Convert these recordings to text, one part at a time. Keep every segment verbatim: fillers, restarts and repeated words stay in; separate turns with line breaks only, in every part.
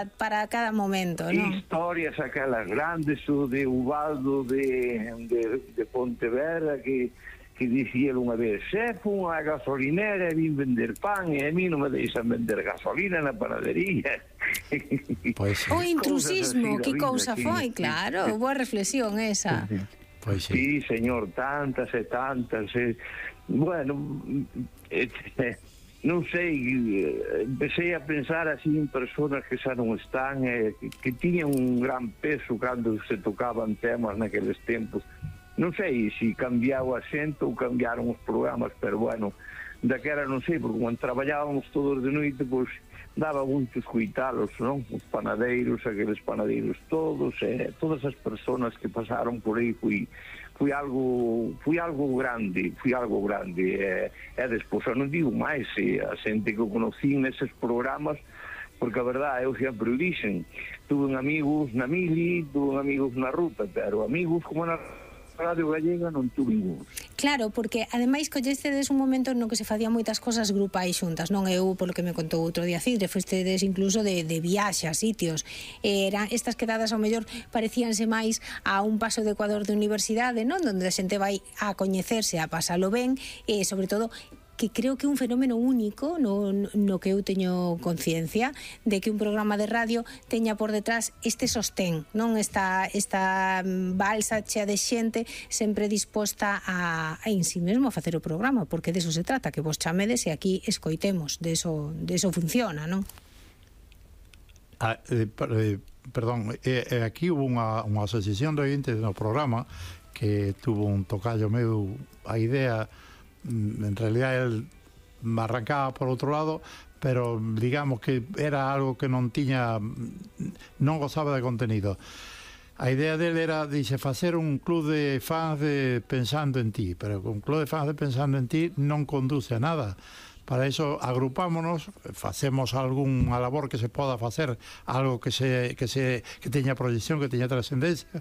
para, para cada momento, non?
Historias aquelas grandes, o de Ubaldo de, de, de Pontevedra, que, que dicía unha vez: se fun a gasolinera e vin vender pan e a mí non me deixan vender gasolina na panadería.
Pues sí.
O intrusismo, que cousa foi,
sí,
claro,
sí.
boa reflexión esa.
Sí, sí.
Pues sí.
Sí, señor, tantas e tantas. Eh. Bueno, eh, non sei, empecé a pensar así en personas que xa non están, eh, que, que tiñan un gran peso cando se tocaban temas naqueles tempos. Non sei se cambiou a xente ou cambiaron os programas, pero bueno, daquera non sei, porque cando traballábamos todos de noite, pois daba moito escoitalos, non? Os panadeiros, aqueles panadeiros todos, eh, todas as personas que pasaron por aí, fui, fui algo fui algo grande, fui algo grande, e, e despois, eu non digo máis, eh, a xente que eu conocí neses programas, porque a verdade, eu sempre o dixen, tuve amigos na mili, tuve amigos na ruta, pero amigos como na Radio Gallega non tuve ningún.
Claro, porque ademais collestedes un momento no que se facían moitas cosas grupais xuntas, non? Eu, polo que me contou outro día Cidre, fostedes incluso de, de viaxe a sitios. Eran estas quedadas ao mellor parecíanse máis a un paso de Ecuador de universidade, non? Donde a xente vai a coñecerse, a pasalo ben, e sobre todo que creo que é un fenómeno único no, no que eu teño conciencia de que un programa de radio teña por detrás este sostén, non? Esta, esta balsa chea de xente sempre disposta a, a en si mesmo a facer o programa, porque de eso se trata, que vos chamedes e aquí escoitemos, de eso, de eso funciona, non?
Ah, eh, eh, perdón, eh, aquí hubo unha, unha asociación de oyentes no programa que tuvo un tocayo meu a idea. En realidad él me arrancaba por outro lado, pero digamos que era algo que non tiña, non gozaba de contenido. A idea dele era, dixe, facer un club de fans de Pensando en Ti, pero un club de fans de Pensando en Ti non conduce a nada. Para eso agrupámonos, facemos algunha labor que se poda facer, algo que se que se que teña proyección, que teña trascendencia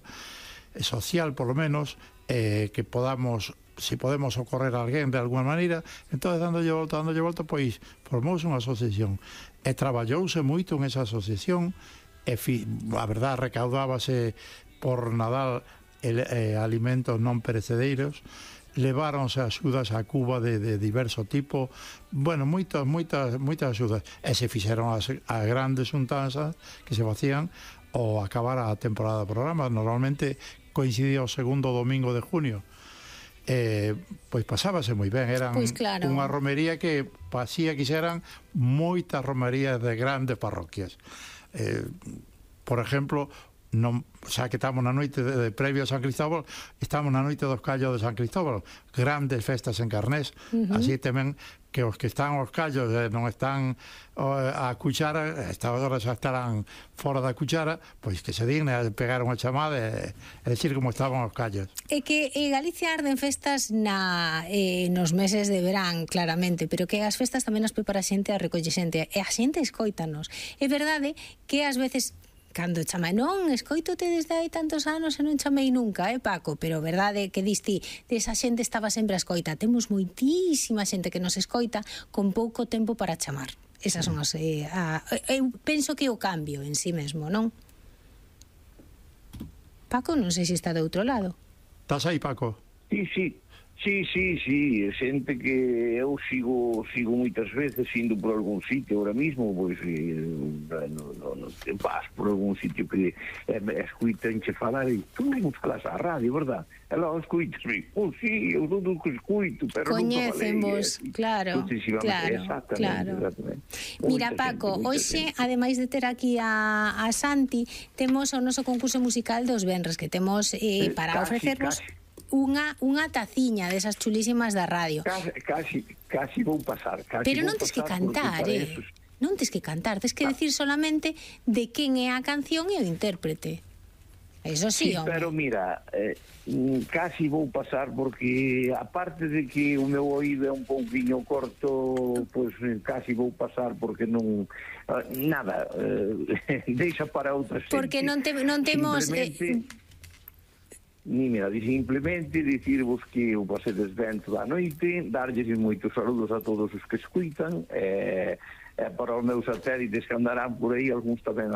social, por lo menos, eh, que podamos, si podemos socorrer a alguén de alguna maneira. Entonces, dándolle volta, dándolle volta, pois formouse unha asociación e traballouse moito en esa asociación e fi, a verdad recaudábase por Nadal el, eh, alimentos non perecedeiros, leváronse axudas a Cuba de, de diverso tipo, bueno, moitas, moitas, moitas axudas, e se fixeron as, as grandes xuntanzas que se facían ao acabar a temporada de programa. Normalmente coincidía o segundo domingo de junio. Eh, pois pasábase moi ben, eran
pues claro.
Unha romería que pasía que xeran moitas romerías de grandes parroquias. Eh, por exemplo, non, xa que estamos na noite de, de previo a San Cristóbal, estamos na noite dos callos de San Cristóbal, grandes festas en Carnés, uh-huh. Así tamén que os que están aos callos eh, non están oh, a cuchara, a esta hora xa estarán fora da cuchara, pois que se digne a pegar unha chamada e, e decir como estaban os callos.
É que en Galicia arden festas na, eh, nos meses de verán, claramente, pero que as festas tamén as prepara a xente, a recolle xente, e a xente escoítanos. É verdade que ás veces cando chama, non, escoitote desde hai tantos anos e non chamei nunca, eh, Paco, pero verdade que diste, desa xente estaba sempre a escoita. Temos moitísima xente que nos escoita con pouco tempo para chamar. Esas son as... Eh, a, eu penso que o cambio en sí mesmo, non? Paco, non sei se está de outro lado.
Estás aí, Paco?
Sí, sí. Sí, sí, sí, xente que eu sigo sigo moitas veces indo por algún sitio ahora mismo, pois eh, no, no, no, te vas por algún sitio que eh, escuitanche falar e tú non falas a radio, verdad? E logo escuitasme, oh, sí, eu non o que escuito, pero
coñecen vos,
eh,
claro, claro,
exactamente,
claro.
Exactamente.
Mira, Paco, hoxe, ademais de ter aquí a, a Santi, temos o noso concurso musical dos venres, que temos eh, para
casi,
ofrecervos
casi.
Unha, unha taciña desas chulísimas da radio.
Casi, casi, casi vou pasar. Casi
pero
vou
non tes que
pasar
cantar, eh?
Eso...
Non tes que cantar, tes que ah. decir solamente de quen é a canción e o intérprete. Eso sí,
sí,
home.
Pero mira, eh, casi vou pasar porque aparte de que o meu oído é un pouquiño corto, pois pues, casi vou pasar porque non uh, nada, eh, deixa para outra xente.
Porque non, te, non temos eh,
ni mira, simplemente dicirvos que o pasedes ben toda a noite, darlles moitos saludos a todos os que escuitan, e, e para os meus satélites que andarán por aí, algúns tamén andarán